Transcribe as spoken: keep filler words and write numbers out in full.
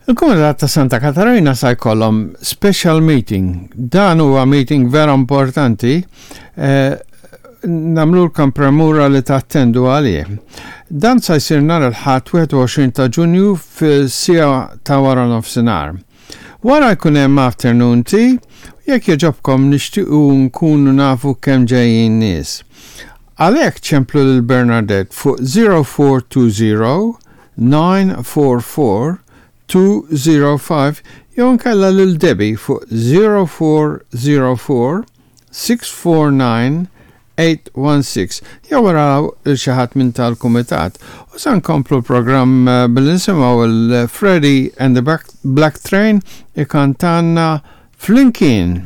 Il-Kumitat ta' Santa Katarina sa jkollhom special meeting. Dan huwa meeting vera importanti, eh, nagħmlulkom premura li tattendu għalih. Dan sa jsir nhar il-Ħadd wieħed u għoxrin ta' Ġunju fis-siegħa ta' wara nofsinhar. Wara jkun hemm afternoon tea, jekk jogħġobkom, nixtiequ nkunu nafu kemm ġejjin nies. Għalhekk ċemplu lil Bernadette fuq zero four two zero nine four four two zero five jew nkella lil Debbie fuq zero four zero four six four nine eight one six jew waraw lil xi ħadd minn tal-kumitat. U sa nkomplu l-programm eh, billi nisimgħu il-Freddie and the Black Train ikantanna "Flimkien".